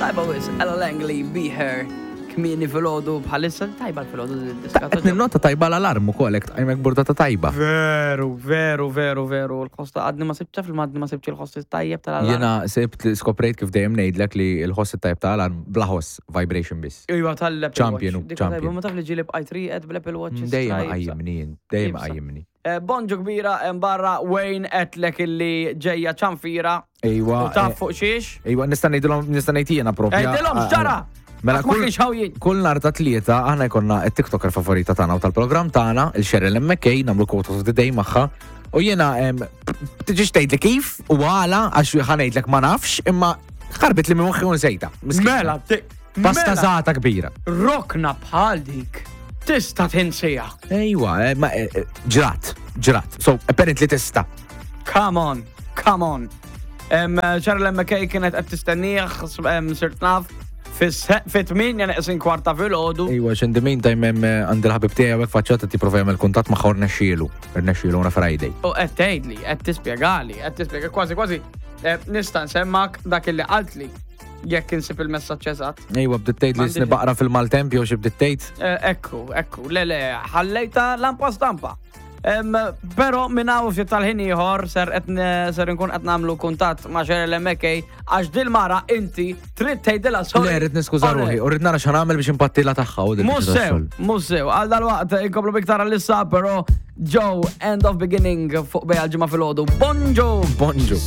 Tajba wis, Ella Langley, Be Her, kmieni filgħodu bħalissa, tajba l-filgħodu diska. Qed ninnota tajba l-alarm ukoll hekk tqajmek burdata tajba. Veru, veru, veru, veru, l-ħoss għadni ma sibtx fil għadni ma sibtx il-ħoss tajjeb tal-alarm. Jiena sibt skoprejt kif dejjem ngħidlek li l-ħoss tajjeb tal-alarm bla ħoss vibration biss. Iva tal-Apple Champion, Watch. champion. Ma taf li ġieli bqajt rieqed bl-Apple Watch. Dejjem qajjimni jien, dejjem qajjimni. Eh, bonġu kbira hemm barra Wayne qedlek illi ġejja ċanfira. Ejwa. U taf eh, fuq xiex? Ejwa, nista' ngħidilhom nista' ngħid jiena propja. Għidilhom x'ġara! Mela Għax ma kienx hawn jien. kull nhar ta' tlieta aħna jkollna t-TikToker favorita tagħna u tal-programm tagħna, il-Cheryl McKay, nagħmlu quote of the day magħha. U jiena em, tiġix tgħidli kif u għala għax ħa ngħidlek ma nafx, imma ħarbit li minn moħħi u nsejta. Miskina. Mela, ti- Pasta mela, żgħata kbira. Rokna bħal dik. Tista' tinsija. Ejwa, eh, ma eh, eh, ġrat, ġrat. So, apparently tista'. Come on, come on. Charlie McKay kienet qed tistennieh, sirt naf, fit-8 neqsin kwarta filgħodu. Ejwa, in the meantime hemm għandi l-ħabib tiegħi hawnhekk faċċata tipprova jagħmel kuntatt magħha u rnexxielu. Rnexxielu on a Friday. U qed tgħidli, qed tispjegali, qed tispjega kważi kważi nista' nsemmak dak illi qaltli jekk insib il-messaġġ eżatt. Ejwa, bdiet tgħid li sni baqra fil-maltemp jew xi bdiet tgħid. Ekku, ekku, le le, ħallejta lampa stampa. Pero minn hawn ftit tal-ħin ieħor ser qed ser nkun qed nagħmlu kuntatt ma' Cheryl McKay għax dil-mara inti trid tgħidilha sorry. Le, rrid niskuża ruħi u rrid nara x'għamel biex impattila tagħha u Mhux sew, mhux sew. Għal dalwaqt inkomplu biktar għal-issa, però Joe, end of beginning fuq bejja l-ġimgħa filgħodu. Bonġu! Bonġu.